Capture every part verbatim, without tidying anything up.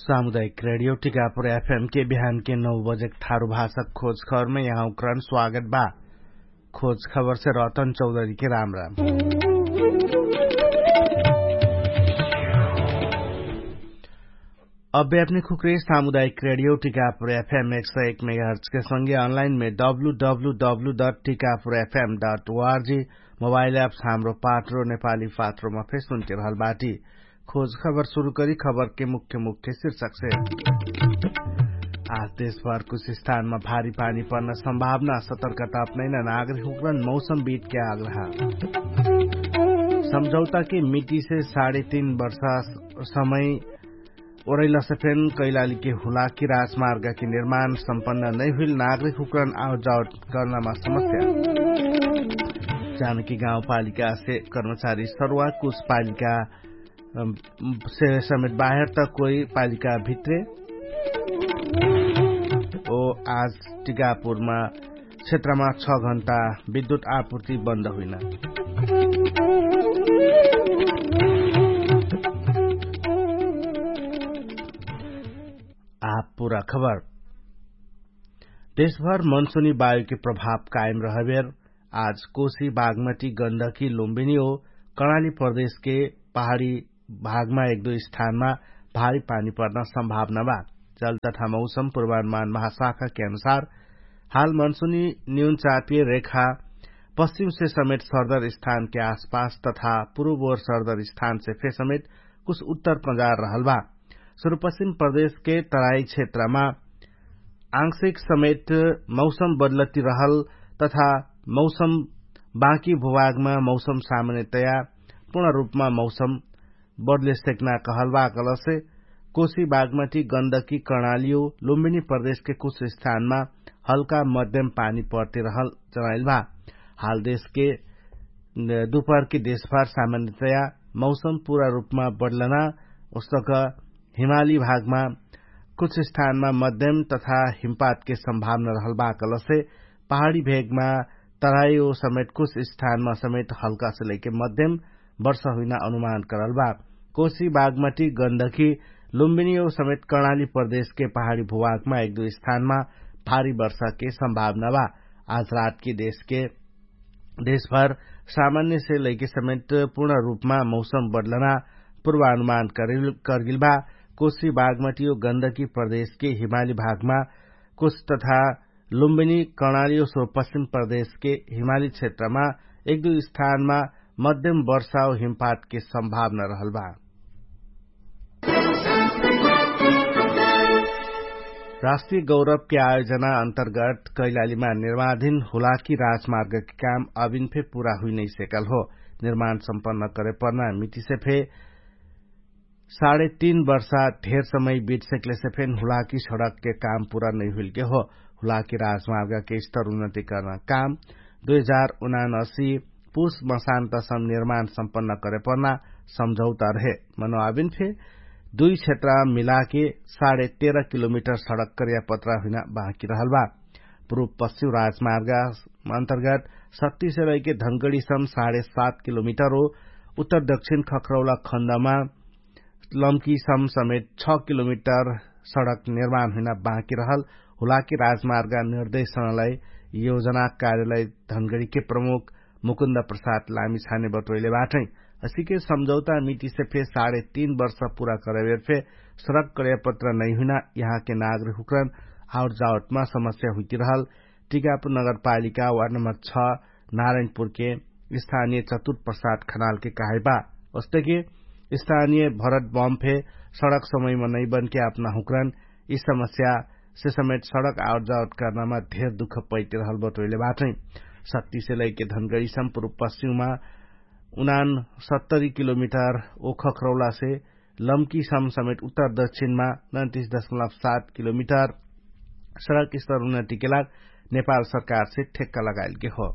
सामुदायिक रेडियो टिकापुर एफएम के बिहान के नौ बजेक थारु भाषक खोज खबरमे यहाँ उक्रान स्वागत बा। खोज खबरसे रतन चौधरी के राम राम। अब्बे अपने खुक्रे सामुदायिक रेडियो टिकापुर एफएम एक सौ एक मेगाहर्च के संगे अनलाइन मे W W W dot Tikapur FM dot O R G mobile apps Hamro Patro नेपाली पात्रोमा फेर सुनके रहल बाटी। खोज खबर सुरु करी खबरके मुख्य मुख्य शीर्षकसे। आज देशभर कुछ स्थानमा भारी पानी पर्न सम्भावना सतर्कता अपनैना नागरिक हुक्रन मौसम बीतके आग्रह। सम्झौताके मिटिसे साढे तीन वर्षा समय ओरैलसे फेन कैलालीके हुलाकी राजमार्गके निर्माण सम्पन्न नैहुइल नागरिक हुक्रन आवजावट कर्नमा समस्या। जानकी गाउँपालिकासे कर्मचारी सरुवा कुछ पालिका से समेत बाहेर त कोही पालिका भित्रे। ओ आज टिकापुरमा क्षेत्रमा छ घण्टा विद्युत आपुर्ति बन्द हुइना। आपुरा खबर। देशभर मनसुनी वायुके प्रभाव कायम रहबेर आज कोशी बागमती गन्धकी लुम्बिनी ओ कर्णाली प्रदेशके पहाडी भागमा एक दुई स्थानमा भारी पानी पर्न सम्भावना बा। जल तथा मौसम पूर्वानुमान महाशाखाके अनुसार हाल मनसुनी न्यून चापिय रेखा पश्चिमसे समेत सर्दर स्थानके आसपास तथा पुरुव ओर सर्दर स्थानसे फे समेत कुछ उत्तर पजार रहल बा। सुरुपश्चिम प्रदेशके तराई क्षेत्रमा आंशिक समेत मौसम बदलति रहल तथा मौसम बाँकी भुभागमा मौसम सामान्यतया पूर्ण रूपमा मौसम बदले सेक्ना कहल बा कलसे कोशी बागमती गन्धकी कर्णालियो लुम्बिनी प्रदेशके कुछ स्थानमा हल्का मध्यम पानी पर्ति रहल जनाइल बा। हाल देशके दुपहरके देशभर सामान्यतया मौसम पूरा रूपमा बदलना उस्तक हिमाली भागमा कुछ स्थानमा मध्यम तथा हिमपातके सम्भावना रहल बा कलसे पहाडी भेगमा तराई ओ समेत कुछ स्थानमा समेत हल्कासे लैके मध्यम वर्षा हुइना अनुमान करल बा। कोशी बागमती गन्धकी लुम्बिनी ओ समेत कर्णाली प्रदेशके पहाडी भुभागमा एक दुई स्थानमा भारी वर्षाके सम्भावना बा। आज रातके देशके देशभर सामान्यसे लैके समेत पूर्ण रूपमा मौसम बदलना पूर्वानुमान करगिल बा। कोशी बागमती ओ गन्धकी प्रदेशके हिमाली भागमा कुछ तथा लुम्बिनी कर्णाली ओ सुरुपश्चिम प्रदेशके हिमाली क्षेत्रमा एक दुई स्थानमा मध्यम वर्षा ओ हिमपातके सम्भावना रहल बा। राष्ट्रिय गौरवके आयोजना अन्तर्गत कैलालीमा निर्माणधिन हुलाकी राजमार्गके काम अभिन फे पुरा हुइनैसेकल हो। निर्माण सम्पन्न करेपर्ना मिटिसे फे साढे तीन वर्षा धेर समय बिटसेकलेसे फेन हुलाकी सडकके काम पुरा नैहुइलके हो। हुलाकी राजमार्गके स्तर उन्नतिकरण काम दुई हजार उनानसी पुस मसान्तसम निर्माण सम्पन्न करेपर्ना सम्झौता रहे। मनोआबिन फे दुई क्षेत्र मिलाके साढे तेह्र किलोमिटर सडक कर्यापत्रा हुइना बाँकी रहल बा। पुरुव पश्चिम राजमार्ग अन्तर्गत शक्तिसे रहिके धनगडीसम साढे सात किलोमिटर हो। उत्तर दक्षिण खखरौला खण्डमा लम्कीसम समेत छ किलोमिटर सडक निर्माण हुइना बाँकी रहल हुलाकी राजमार्ग निर्देशनलाई योजना कार्यालय धनगडीके प्रमुख मुकुन्द प्रसाद लामिछाने बटोइले बाटै। असिके सम्झौता मिटिसे फे साढे तीन वर्ष पुरा करबेर फे सडक कर्यापत्र नैहुइना यहाँके नागरिक हुक्रन आउट जाउटमा समस्या हुइतिरहल टिकापुर नगरपालिका वार्ड नम्बर छ नारायणपुरके स्थानिय चतुर प्रसाद खनालके कहाइबा। ओस्तके स्थानिय भरत बम फे सडक समयमा नैबनके अपना हुक्रन यि समस्यासे समेत सडक आउट जाउट कर्नामा धेर दुख पैतिरहल बटोइले बाटै। शक्तिसे लैके धनगडीसम पुरुव पश्चिममा उनान सत्तरी किलोमिटर ओखखरौलासे लम्कीसम समेत उत्तर दक्षिणमा नैतिस दशमलब सात किलोमिटर सडक स्तर उन्नतिके लाग नेपाल सरकारसे ठेक्का लगाइलके हो।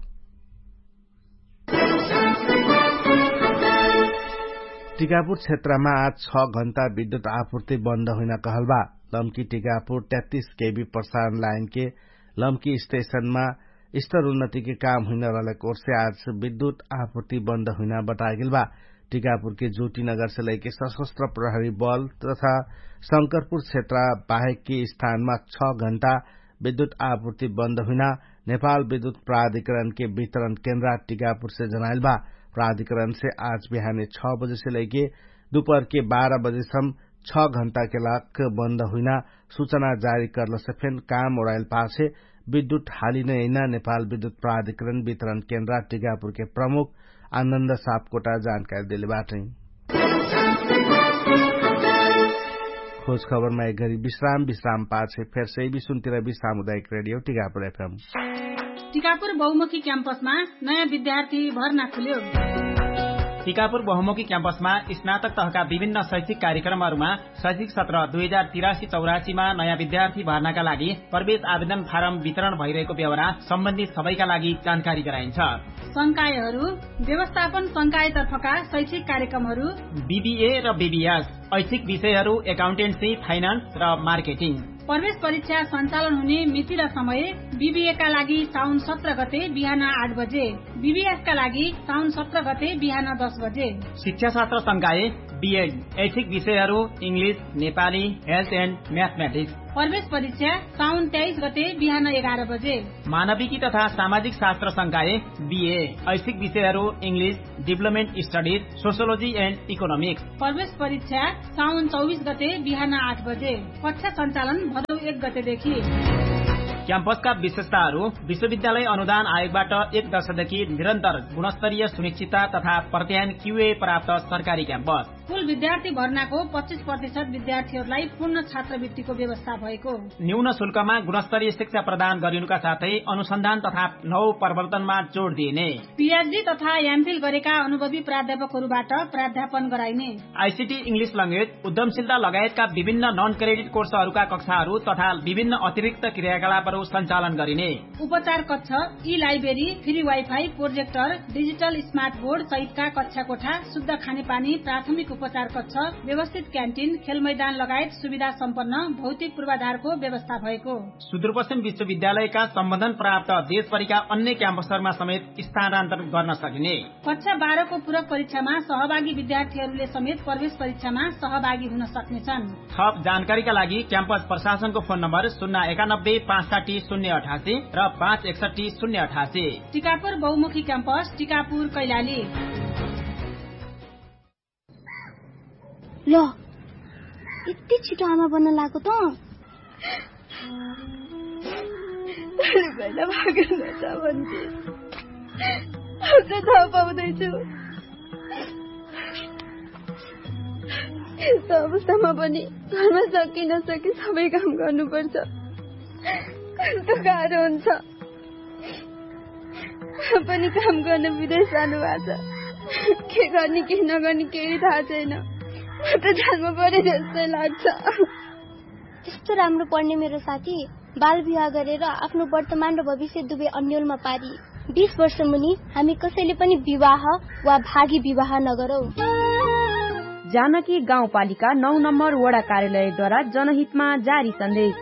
टिकापुर क्षेत्रमा आज छ घण्टा विद्युत आपुर्ति बन्द हुइना कहल बा। लम्की टिकापुर तैतिस केबी प्रसारण लाइनके लम्की स्टेशनमा स्तर उन्नतिके काम हुइना रहलेक ओर्से आज विद्युत आपुर्ति बन्द हुइना बतागेल बा। टिकापुरके ज्योतिनगरसे लैके सशस्त्र प्रहरी बल तथा शंकरपुर क्षेत्र बाहेकके स्थानमा छ घण्टा विद्युत आपूर्ति बन्द हुइना नेपाल विद्युत प्राधिकरणके वितरण केन्द्रा टिकापुरसे जनाइल बा। प्राधिकरणसे आज बिहाने छ बजेसे लैके दुपहरके बाह्र बजेसम छ घण्टाके लाग बन्द हुइना सुचना जारी कर्लसे फेन काम ओडाइल पाछे विद्युत हालिने यैना नेपाल विद्युत प्राधिकरण वितरण केन्द्रा टिकापुरके प्रमुख आनन्द सापकोटा जानकारी देले बाटै। खोज खबरमा एक घरी विश्राम विश्राम पाछे फेर सही विश्वन्तिरबी सामुदायिक रेडियो टिकापुर एफएम। टिकापुर बहुमुखी क्याम्पसमा नयाँ विद्यार्थी भर्ना खुल्यो। टिकापुर बहुमुखी क्याम्पसमा स्नातक तहका विभिन्न शैक्षिक कार्यक्रमहरूमा शैक्षिक सत्र दुई हजार तिरासी चौरासीमा नयाँ विद्यार्थी भर्नाका लागि प्रवेश आवेदन फारम वितरण भइरहेको बेहोरा सम्बन्धित सबैका लागि जानकारी गराइन्छ। संकायहरू व्यवस्थापन संकायतर्फका शैक्षिक कार्यक्रमहरू बिबिए र बिबिएस, ऐच्छिक विषयहरू एकाउन्टेन्सी, फाइनान्स र मार्केटिङ। प्रवेश परीक्षा सञ्चालन हुने मिति र समय बिबिएका लागि साउन सत्र गते बिहान आठ बजे, बिबिएसका लागि साउन सत्र गते बिहान दस बजे। शिक्षाशास्त्र संकाय बिएड, ऐच्छिक विषयहरू इङ्ग्लिस, नेपाली, हेल्थ एन्ड म्याथमेटिक्स। प्रवेश परीक्षा साउन तेइस गते बिहान एघार बजे। मानविकी तथा सामाजिक शास्त्र संकाय बिए, ऐच्छिक विषयहरू इङ्ग्लिस, डिभलपमेन्ट स्टडिज, सोसियोलोजी एन्ड इकोनोमिक्स। प्रवेश परीक्षा साउन चौबिस गते बिहान आठ बजे। कक्षा सञ्चालन भदौ एक गतेदेखि। क्याम्पसका विशेषताहरू विश्वविद्यालय अनुदान आयोगबाट एक दशकदेखि निरन्तर गुणस्तरीय सुनिश्चितता तथा प्रत्यायन क्युए प्राप्त सरकारी क्याम्पस। कुल विद्यार्थी भर्नाको पच्चिस प्रतिशत विद्यार्थीहरूलाई पूर्ण छात्रवृत्तिको व्यवस्था भएको। न्यून शुल्कमा गुणस्तरीय शिक्षा प्रदान गरिनुका साथै अनुसन्धान तथा नव प्रवर्तनमा जोड दिइने। पिएचडी तथा एमफिल गरेका अनुभवी प्राध्यापकहरूबाट प्राध्यापन गराइने। आइसिटी, इङ्ग्लिस लङ्गेज, उद्यमशीलता लगायतका विभिन्न नन क्रेडिट कोर्सहरूका कक्षाहरू तथा विभिन्न अतिरिक्त क्रियाकलापहरू सञ्चालन गरिने। उपचार कक्ष, ई library, free wifi, projector, digital smart board सहितका कक्षा कोठा, शुद्ध खानेपानी, प्राथमिक उपचार कक्ष, व्यवस्थित क्यान्टिन, खेलमैदान लगायत सुविधा सम्पन्न भौतिक पूर्वाधारको व्यवस्था भएको। सुदूरपश्चिम विश्वविद्यालयका सम्बन्धन प्राप्त देशभरिका अन्य क्याम्पसहरूमा समेत स्थानान्तरण गर्न सकिने। कक्षा बाह्रको पूरक परीक्षामा सहभागी विद्यार्थीहरूले समेत प्रवेश परीक्षामा सहभागी हुन सक्नेछन्। थप जानकारीका लागि क्याम्पस प्रशासनको फोन नम्बर शून्य एकानब्बे पाँच साठी शून्य अठासी र पाँच एकसठी शून्य अठासी। टिकापुर बहुमुखी क्याम्पस, टिकापुर कैलाली। ल, यति छिटो आमा बन्न लाग्यो त? भोलि पहिला भागेन छ भन्थे। अब चाहिँ थाहा पाउँदैछु। यस्तो अवस्थामा पनि घरमा सके नसके सबै काम गर्नुपर्छ। कस्तो गाह्रो हुन्छ। पनि काम गर्न विदेश जानुभएको छ। के गर्ने के नगर्ने केही थाहा छैन। म त जान्नु पर्यो जस्तै लाग्छ। त्यस्तो राम्रो पढ्ने मेरो साथी बाल विवाह गरेर आफ्नो वर्तमान र भविष्य दुवै अन्यलमा पारी। बिस वर्ष मुनि हामी कसैले पनि विवाह वा भागी विवाह नगरौँ। जानकी गाउँपालिका नौ नम्बर वडा कार्यालयद्वारा जनहितमा जारी सन्देश।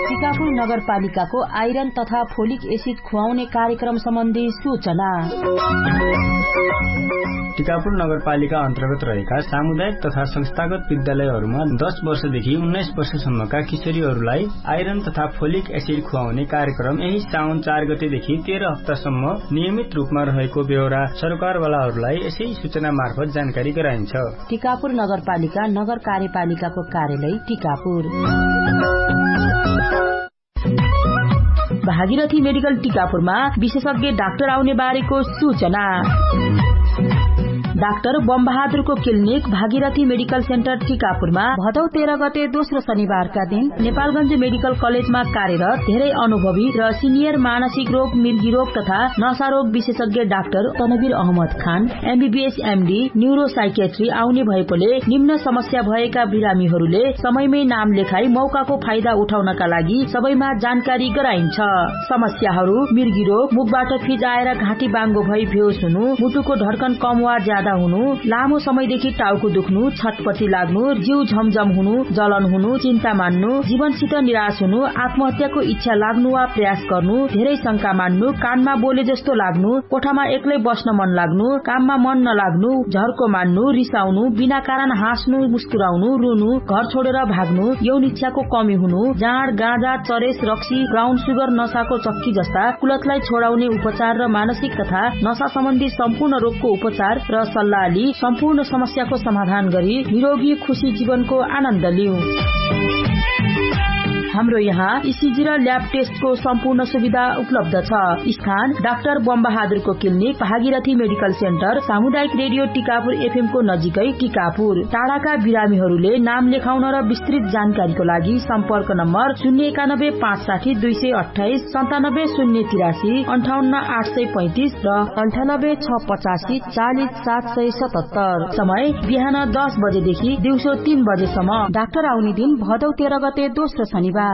टिकापुर नगरपालिकाको आइरन तथा फोलिक एसिड खुवाउने कार्यक्रम सम्बन्धी सूचना। टिकापुर नगरपालिका अन्तर्गत रहेका सामुदायिक तथा संस्थागत विद्यालयहरूमा दस वर्षदेखि उन्नाइस वर्षसम्मका किशोरीहरूलाई आइरन तथा फोलिक एसिड खुवाउने कार्यक्रम यही साउन चार गतेदेखि तेह्र हप्तासम्म नियमित रूपमा रहेको बेहोरा सरकारवालाहरूलाई यसै सूचना मार्फत जानकारी गराइन्छ। टिकापुर नगरपालिका नगर कार्यपालिकाको कार्यालय टिकापुर। भागीरथी मेडिकल टिकापुरमा विशेषज्ञ डाक्टर आउने बारेको सूचना। डाक्टर बमबहादुरको क्लिनिक भागीरथी मेडिकल सेन्टर टिकापुरमा भदौ तेह्र गते दोस्रो शनिबारका दिन नेपालगञ्ज मेडिकल कलेजमा कार्यरत धेरै अनुभवी र सिनियर मानसिक रोग, मिर्गी रोग तथा नशा रोग विशेषज्ञ डाक्टर तनवीर अहमद खान एमबीबीएस एमडी न्युरोसाइकेट्री आउने भएकोले निम्न समस्या भएका बिरामीहरूले समयमै नाम लेखाई मौकाको फाइदा उठाउनका लागि सबैमा जानकारी गराइन्छ। समस्याहरू मिर्गिरो मुखबाट फिजाएर घाँटी बाङ्गो भई भेउस हुनु, मुटुको ढड्कन कम वा ज्यादा हुनु, लामो समयदेखि टाउको दुख्नु, छटपटी लाग्नु, जिउ झमझम हुनु, जलन हुनु, चिन्ता मान्नु, जीवनसित निराश हुनु, आत्महत्याको इच्छा लाग्नु वा प्रयास गर्नु, धेरै शंका मान्नु, कानमा बोले जस्तो लाग्नु, कोठामा एक्लै बस्न मन लाग्नु, काममा मन नलाग्नु, झर्को मान्नु, रिसाउनु, बिना कारण हाँस्नु, मुस्कुराउनु, रुनु, घर छोडेर भाग्नु, यौन इच्छाको कमी हुनु, जाँड, गाँजा, चरेस, रक्सी, ब्राउन सुगर, नसाको चक्की जस्ता कुलतलाई छोडाउने उपचार र मानसिक तथा नसा सम्बन्धी सम्पूर्ण रोगको उपचार र सल्लाहली सम्पूर्ण समस्याको समाधान गरी निरोगी खुशी जीवनको आनन्द लिउ। हाम्रो यहाँ इसिजी र ल्याब टेस्टको सम्पूर्ण सुविधा उपलब्ध छ। स्थान डाक्टर बमबहादुरको क्लिनिक, भागीरथी मेडिकल सेन्टर, सामुदायिक रेडियो टिकापुर एफएमको नजिकै टिकापुर। टाढाका बिरामीहरूले नाम लेखाउन र विस्तृत जानकारीको लागि सम्पर्क नम्बर शून्य एकानब्बे पाँच साठी दुई सय अट्ठाइस, सन्तानब्बे शून्य तिरासी, अन्ठाउन्न आठ सय पैँतिस र अन्ठानब्बे छ पचासी चालिस सात सय सतहत्तर। समय बिहान दस बजेदेखि दिउँसो तीन बजेसम्म। डाक्टर आउने दिन भदौ तेह्र गते दोस्रो शनिबार।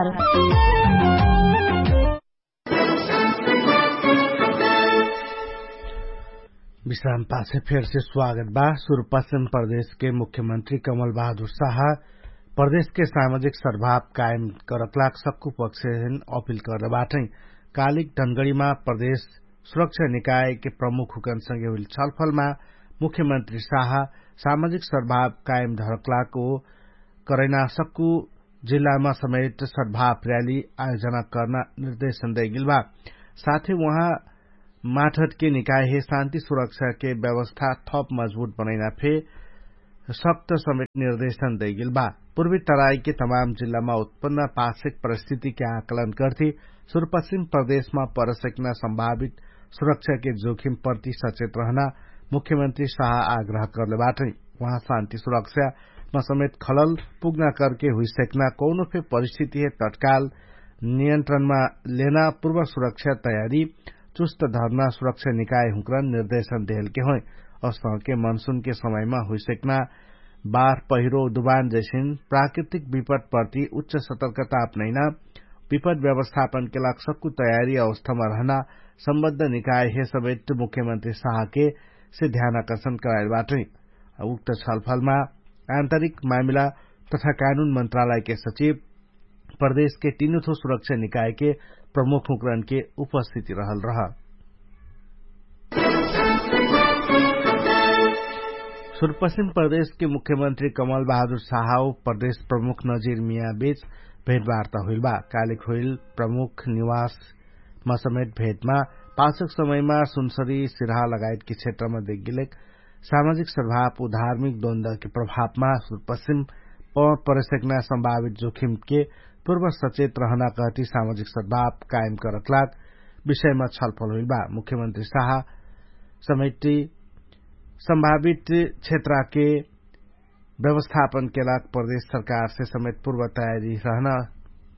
विश्राम पाछे फेरसे स्वागत बा। सुरुपश्चिम प्रदेशके मुख्यमन्त्री कमल बहादुर साहा प्रदेशके सामाजिक सद्भाव कायम करकलाक सक्कु पक्षेन अपिल कर्दबाटै। कालिक धनगडीमा प्रदेश सुरक्षा निकायके प्रमुख हुकनसँगे हुइल छलफलमा मुख्यमन्त्री साहा सामाजिक सद्भाव कायम धरकलाक ओ करैना सक्कु जिल्लामा समेत सद्भाव र्‍याली आयोजना कर्ना निर्देशन दैगिल बा। साथै उहाँ माठटके निकायहे शान्ति सुरक्षाके व्यवस्था थप मजबुत बनैना फे सक्त समेत निर्देशन दैगिल बा। पूर्वी तराईके तमाम जिल्लामा उत्पन्न पार्श्विक परिस्थितिके आकलन गर्थे सुरुपश्चिम प्रदेशमा परसक्ना सम्भावित सुरक्षाके जोखिम प्रति सचेत रहना मुख्यमन्त्री साहा आग्रह कर्लेबाटै। उहाँ शान्ति सुरक्षामा समेत खलल पुग्ना करके हुइसक्ना कौनो फे परिस्थितिहे तत्काल नियन्त्रणमा लेना पूर्व सुरक्षा तयारी चुस्त धर्ना सुरक्षा निकाय हुँक्रा निर्देशन देहलके होइ। असहके मनसुनके समयमा हुइसक्ना बार पहिरो दुबान जैसिन प्राकृतिक विपद प्रति उच्च सतर्कता अपनैना विपद व्यवस्थापनके लाग सक्कु तयारी अवस्थामा रहना सम्बद्ध निकायहे समेत मुख्यमन्त्री साहके से ध्यान आकर्षण कराइल बाटै। उक्त छलफलमा आन्तरिक मामिला तथा कानुन मन्त्रालयके सचिव प्रदेशके तीनुथो सुरक्षा निकायके प्रमुख हुँक्रानके उपस्थिति रहल रह। सुरुपश्चिम प्रदेशके मुख्यमन्त्री कमल बहादुर साहाओ प्रदेश प्रमुख नजिर मियाँ बीच भेटवार्ता हुइल बा। कालिक हुइल प्रमुख निवासमा समेत भेटमा पाछक समयमा सुनसरी सिरहा लगायतके क्षेत्रमा देखिलेक सामाजिक सद्भाव उ धार्मिक द्वन्द्वके प्रभावमा सुरुपश्चिम परेसक्ना सम्भावित जोखिमके पूर्व सचेत रहना कहती सामाजिक सद्भाव कायम करतलाक विषयमा छलफल हुइल बा। मुख्यमन्त्री साहा समेटी सम्भावित क्षेत्रके व्यवस्थापनके लाग प्रदेश सरकारसे समेत पूर्व तयारी रहना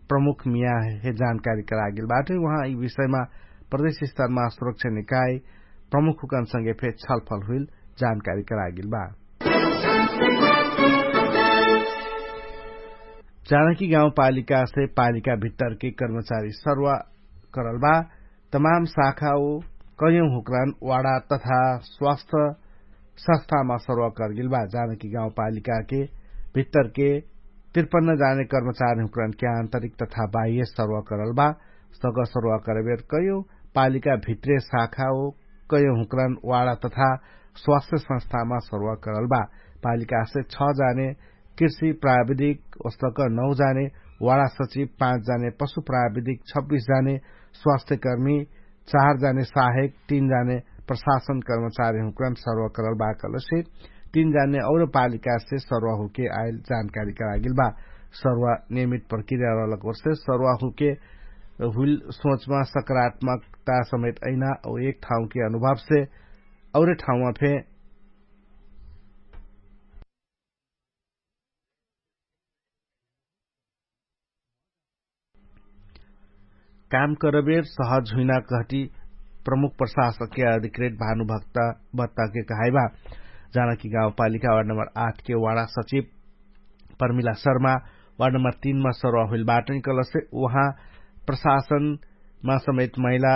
प्रमुख मियाँहे जानकारी करागेल बाटै। उहाँ यि विषयमा प्रदेश स्तरमा सुरक्षा निकाय प्रमुख हुकनसँगे फे छलफल हुइल जानकारी करागेल बा। जानकी गाउँपालिकासे पालिका भित्तरके कर्मचारी सर्वा करल बा। तमाम शाखा ओ कयौँ हुक्रान वाडा तथा स्वास्थ्य संस्थामा सर्वा करगेल बा। जानकी गाउँपालिकाके भित्तरके तिरपन्न जाने कर्मचारी हुक्रानके आन्तरिक तथा बाह्य सर्वा करल बा। सग सर्वा करबेर कयौँ पालिका भित्रे शाखा ओ कयौँ हुक्रान वाडा तथा स्वास्थ्य संस्थामा सर्वा करल बा। पालिकासे छ जाने कृषि प्राविधिक ओस्तक नौ जाने वाडा सचिव, पाँच जाने पशु प्राविधिक, छब्बिस जाने स्वास्थ्यकर्मी, चार जाने सहायक, तीन जाने प्रशासन कर्मचारी हुँक्रान सर्वा करल बा कहलसे तीन जाने और पालिकासे सर्वा हुके आइल जानकारी करागेल बा। सर्वा नियमित प्रक्रिया रहलक ओरसे सर्वा हुके हुइल सोचमा सकारात्मकता समेत अइना और एक ठाउँके अनुभवसे और ठाउँमा फे काम करबेर सहज हुइना कहती प्रमुख प्रशासकके अधिकृत भानुभक्त बत्ताके कहाइबा। जानकी गाउँपालिका वार्ड नम्बर आठके वाडा सचिव परमिला शर्मा वार्ड नम्बर तीनमा सर्वा हुइल बाटै कहलसे उहाँ प्रशासन मा समेत महिला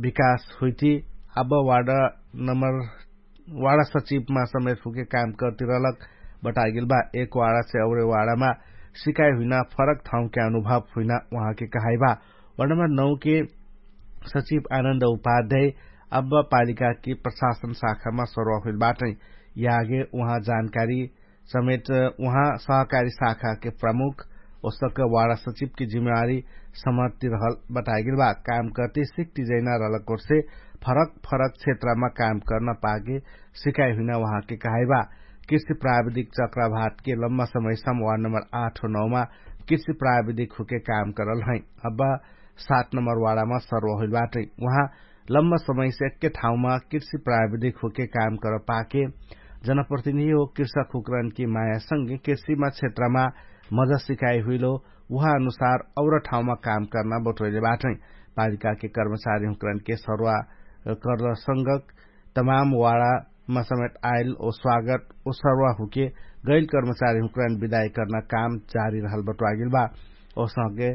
विकास हुइटी अब वाडा नम्बर वाडा सचिवमा समेत हुके काम कर्तिरहलक बटागेल बा। एक वाडासे औरे वाडामा सिकाइ हुइना फरक ठाउँके अनुभव हुइना उहाँके कहाइ बा। वाडा नम्बर नौके सचिव आनन्द उपाध्याय अब पालिकाके प्रशासन शाखामा सरुवा हुइल बाटै। यागे उहाँ जानकारी समेत उहाँ सहकारी शाखाके प्रमुख ओसक वाडा सचिवके जिम्मेवारी समर्तिरहल बताइगेल बा। काम कर्ते सिक्ति जैना रहलक ओर्से फरक फरक क्षेत्रमा काम कर्न पाके सिकाइ हुइना उहाँके कहाइ बा। कृषि प्राविधिक चक्राभातके लम्बा समयसम वाड नम्बर आठ हो नौमा कृषि प्राविधिक हुके काम करल है। अब सात नम्बर वाडामा सर्व होइल बाटै। उहाँ लम्बा समयसे एक्के ठाउँमा कृषि प्राविधिक हुके काम कर पाके जनप्रतिनिधि हो कृषक हुकरनके मायासँगे कृषिमा क्षेत्रमा मजा सिकाइ हुइलो उहाँ अनुसार और ठाउँमा काम कर्ना बटोइले बाटै। पालिकाके कर्मचारी हुकरनके सर्वा कर्ल संगक तमाम वाडामा समेत आइल ओ स्वागत ओ सर्वा हुके गैल कर्मचारी हुकरन विदाई कर्ना काम जारी रहल बटोइगेल बा। ओसके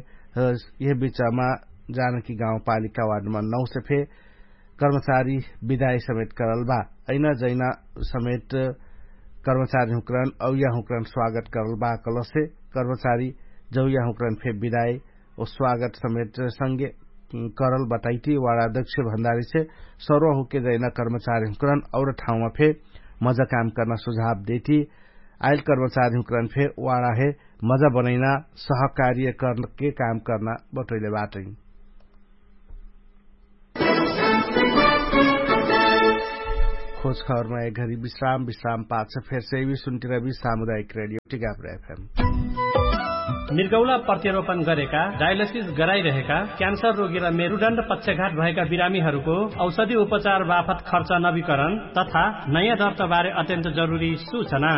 यह बिचमा जानकी गाउँपालिका वाडमा नौसे फे कर्मचारी विदाई समेत करल बा। ऐना जैना समेत कर्मचारी हुकरन औया हुकरन स्वागत करल बा कलसे कर्मचारी जौया हुकरन फे विदाई ओ स्वागत समेत संगे करल बताइटी। वाडा अध्यक्ष भन्दारी से सर्व हुके जैना कर्मचारी हुकरन और ठाउँमा फे मजा काम कर्ना सुझाव देटी। आइल कर्मचारी हुकरन फे वाडा हे मजा बनैना सहकार्य कर्नके काम कर्ना बटोइले बाटै। खोज खबरमा एक घरी विश्राम विश्राम पाछ फेर सेवी सुन्टिरबी सामुदायिक रेडियो टिकापुर एफएम। मिर्गौला प्रत्यारोपण गरेका डायलिसिस गराइरहेका क्यान्सर रोगी र मेरुडण्ड पक्षघात भएका बिरामीहरूको औषधि उपचार बापत खर्च नवीकरण तथा नयाँ दर्ताबारे अत्यन्त जरुरी सूचना।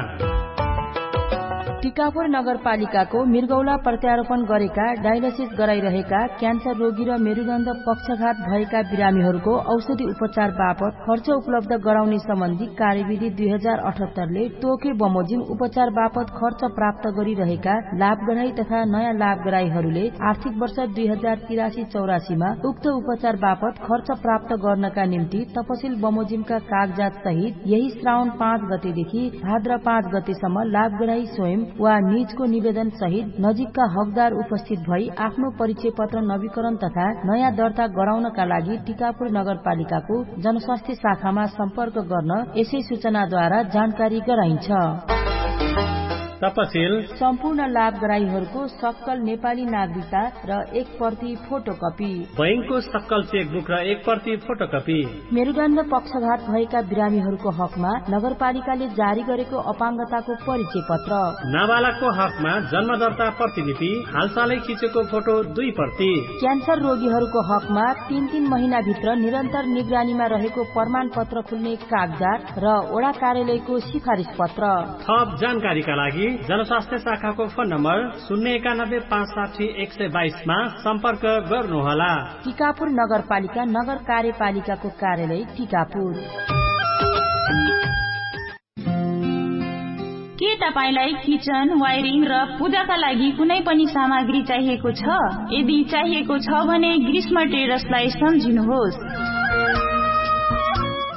टिकापुर नगरपालिकाको मिर्गौला प्रत्यारोपण गरेका डायलिसिस गराइरहेका क्यान्सर रोगी र मेरुडण्ड पक्षघात भएका बिरामीहरूको औषधि उपचार बापत खर्च उपलब्ध गराउने सम्बन्धी कार्यविधि दुई हजार अठहत्तरले तोके बमोजिम उपचार बापत खर्च प्राप्त गरिरहेका लाभगराई तथा नयाँ लाभगराईहरूले आर्थिक वर्ष दुई हजार तिरासी चौरासीमा उक्त उपचार बापत खर्च प्राप्त गर्नका निम्ति तपसिल बमोजिमका कागजात सहित यही श्रावण पाँच गतेदेखि भाद्र पाँच गतेसम्म लाभगराई स्वयं वा निजको निवेदन सहित नजिकका हकदार उपस्थित भई आफ्नो परिचय पत्र नवीकरण तथा नयाँ दर्ता गराउनका लागि टिकापुर नगरपालिकाको जनस्वास्थ्य शाखामा सम्पर्क गर्न यसै सूचनाद्वारा जानकारी गराइन्छ। तपसिल सम्पूर्ण लाभगराईहरूको सक्कल नेपाली नागरिकता र एक प्रति फोटोकपी। बैंकको सक्कल चेकबुक र एक प्रति फोटोकपी। मेरुदण्ड पक्षघात भएका बिरामीहरूको हकमा नगरपालिकाले जारी गरेको अपाङ्गताको परिचय पत्र। नाबालकको हकमा जन्मदर्ता प्रतिलिपि हालसालै खिचेको फोटो दुई प्रति। क्यान्सर रोगीहरूको हकमा तीन तीन महिनाभित्र निरन्तर निगरानीमा रहेको प्रमाणपत्र खुल्ने कागजात र ओडा कार्यालयको सिफारिस पत्र। थप जानकारीका लागि जनस्वास्थ्य शाखाको फोन नम्बर शून्य एकानब्बे पाँच साठी एक सय बाइसमा सम्पर्क गर्नुहोला। टिकापुर नगरपालिका नगर कार्यपालिकाको कार्यालय टिकापुर। के तपाईंलाई किचन, वायरिङ र पूजाका लागि कुनै पनि सामग्री चाहिएको छ? यदि चाहिएको छ भने ग्रीष्म ट्रेडर्सलाई सम्झिनुहोस्।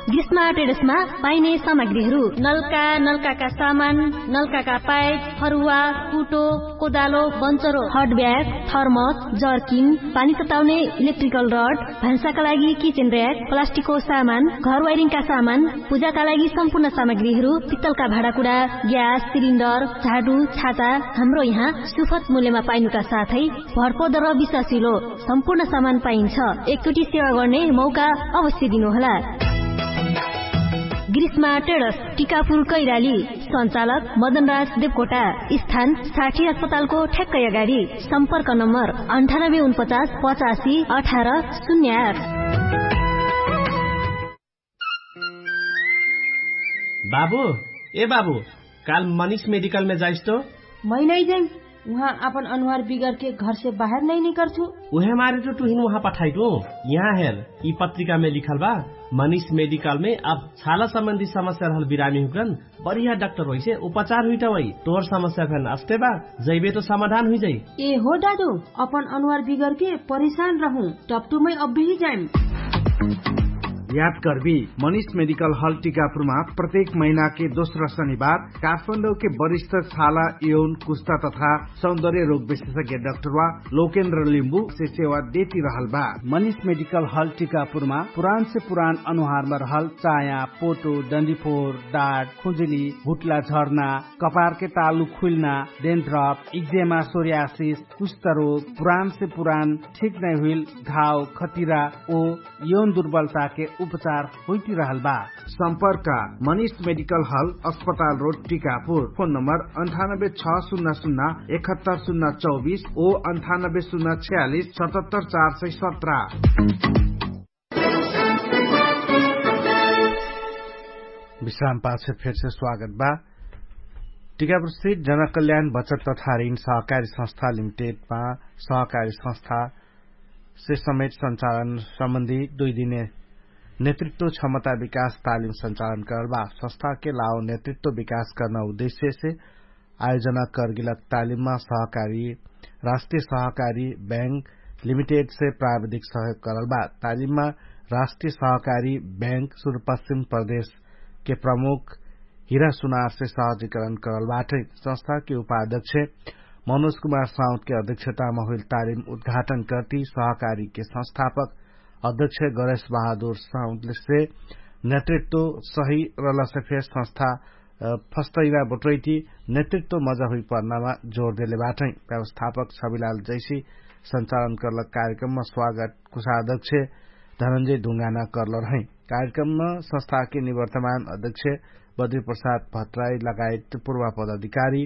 ग्रीष्म ट्रेडर्समा पाइने सामग्रीहरू नलका, नलकाका सामान, नलकाका पाइप, फरुवा, कुटो, कोदालो, बन्चरो, हट ब्याग, थर्मस, जर्किन, पानी तताउने इलेक्ट्रिकल रड, भान्साका लागि किचेन र्याक, प्लास्टिकको सामान, घर वाइरिङका सामान, पूजाका लागि सम्पूर्ण सामग्रीहरू, पित्तलका भाँडाकुडा, ग्यास सिलिन्डर, झाडु, छाता, हाम्रो यहाँ सुफत मूल्यमा पाइनुका साथै भरपर्दो र विश्वासिलो सम्पूर्ण सामान पाइन्छ। एकचोटि सेवा गर्ने मौका अवश्य दिनुहोला। ग्रीष्मा ट्रेडर्स, टिकापुर कैराली। सञ्चालक मदनराज देवकोटा। स्थान साठी अस्पतालको ठ्याक्कै अगाडि। सम्पर्क नम्बर अन्ठानब्बे उनपचास पचासी अठार शून्य आठ। बाबु, ए बाबु, काल मनिष मेडिकलमे जाइस्तो? मैनैजै। उहाँ आपन अनुहार बिगरके घरसे बाहेर नै निकर्छु। उहे मारे त टुहिन उहाँ पठाइटु। यहाँ हेर, यि पत्रिकामे लिखल बा, मनिष मेडिकलमे अब छाला सम्बन्धी समस्या रहल बिरामी हुकन, बढिया डाक्टर होइसे उपचार हुइटा वै। तोर समस्या फेन अस्ते बा, जैबे त समाधान हुइजाइ। ए हो डाडु, अपन अनुहार बिगरके परेशान रहु, टप्टुमै अब्बेही जाइम। याद कर्बी, मनिष मेडिकल हल टिकापुरमा प्रत्येक महिनाके दोस्रा शनिबार काठमाडौके वरिष्ठ छाला, यौन, कुस्ता तथा सौन्दर्य रोग विशेषज्ञ डाक्टरवा लोकेन्द्र लिम्बुसे सेवा देति रहल बा। मनिष मेडिकल हल टिकापुरमा पुरानसे पुरान अनुहारमा रहल चाया, पोटो, डन्डीफोर, डाट, खुजुली, भुट्ला झर्ना, कपारके तालु खुइल्ना, डेन्ड्रप, इक्जेमा, सोर्यासिस, कुष्ठरोग, पुरानसे पुरान ठिक नै हुइल घाव, खतिरा ओ यौन दुर्बलताके उपचार होइति रहल बा। सम्पर्क, मनिष मेडिकल हल, अस्पताल रोड, टिकापुर। फोन नम्बर अन्ठानब्बे छ सुन्ना सुन्ना एकहत्तर सुन्ना चौबिस ओ अन्ठानब्बे सुन्ना छयालिस सतहत्तर चार सय सत्र। विश्राम पाछे फेरसे स्वागत बा। टिकापुर स्थित जनकल्याण बचत तथा ऋण सहकारी संस्था लिमिटेडमा सहकारी संस्था से समेत सञ्चालन सम्बन्धी दुई दिने नेतृत्व क्षमता विकास तालिम सञ्चालन करल बा। संस्थाके लाओ नेतृत्व विकास कर्ना उद्देश्यसे आयोजना करगेलक तालिममा सहकारी राष्ट्रिय सहकारी बैंक लिमिटेडसे प्राविधिक सहयोग करल बा। तालिममा राष्ट्रिय सहकारी बैंक सुदूरपश्चिम प्रदेशके प्रमुख हिरा सुनारसे सहजीकरण करल बाटै। संस्थाके उपाध्यक्ष मनोज कुमार साउदके अध्यक्षतामा हुइल तालिम उद्घाटन कर्ति सहकारीके संस्थापक अध्यक्ष गणेश बहादुर साउदसे नेतृत्व सही रहलसे फेर संस्था फस्तैना बटोइटी नेतृत्व मजा हुइपर्नामा जोर देले बाटै। व्यवस्थापक छविलाल जैसी सञ्चालन कर्लक कार्यक्रममा स्वागत कुषाध्यक्ष धनन्जय ढुङ्गाना कर्ल रहै। कार्यक्रममा संस्थाके निवर्तमान अध्यक्ष बद्री प्रसाद भट्टराई लगायत पूर्वा पदाधिकारी